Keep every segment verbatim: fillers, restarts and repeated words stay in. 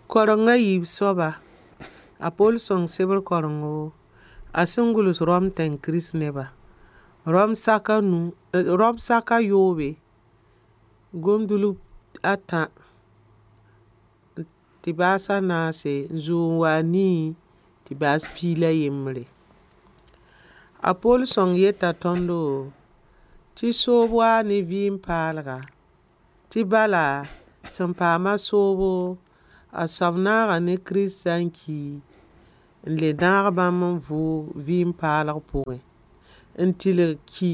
Kareng a yiib soaba, a Poll sõng sebr karengo a sẽn gʋls Rom tẽng Kirist neba. Rom sak a nu, Rom sak a yoobe, gomdulg a tã tɩ baas a naase n zoog n wa a nii tɩ baas piig la yembre. A Poll sõng yeta tõndo tɩ soob waa ne vɩɩm paalga tɩ bala sẽn paama soobo a soab naaga ne Kiristã n ki n le naag bãmb n vʋʋg vɩɩm paalg pʋgẽ n tɩlg ki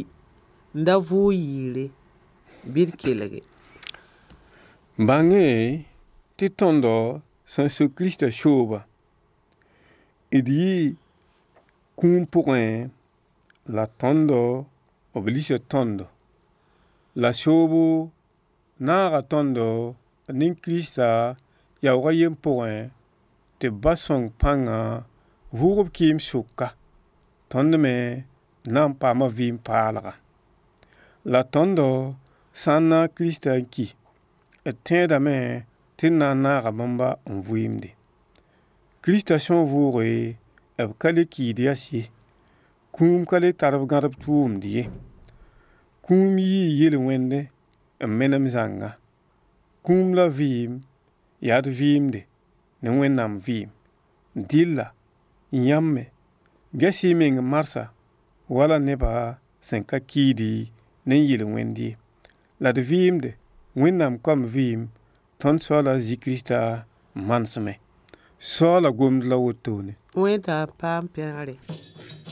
n da vʋʋg yɩɩre. Bɩ d kelge. Bãng-y tɩ tõndo sẽn suk Kiristã sooba, d yɩɩ kũum pʋgẽ la tõndo b lisa tõndo. La soobo naaga tõndo ne Kirista yaoog a yen pʋgẽ tɩ b Ba sõng pãnga vʋʋg b kɩɩm sʋka, tõnd me na n paama vɩɩm paalga. La tõndo sã n naag Kiristã n ki, d tẽedame tɩ d na n naaga bãmba n vɩɩmde. Kiristã sẽn vʋʋge, b ka le kiid yɛs ye, kũum ka le tar b gãdb tʋʋmd ye. Kũum yii yel-wẽndẽ n menem zãnga. Kũum la vɩɩm yaa d vɩɩmde ne Wẽnnaam vɩɩm. Dɩlla yãmb me ges-y y meng marsã wala neba sẽn ka kiidi ne yel-wẽnd ye. La d vɩɩmde Wẽnnaam koam vɩɩm tõnd Soaal a Zezi Kiristã manesmẽ. Soaala gomd la wotone. Wẽnnaam paam pẽgre.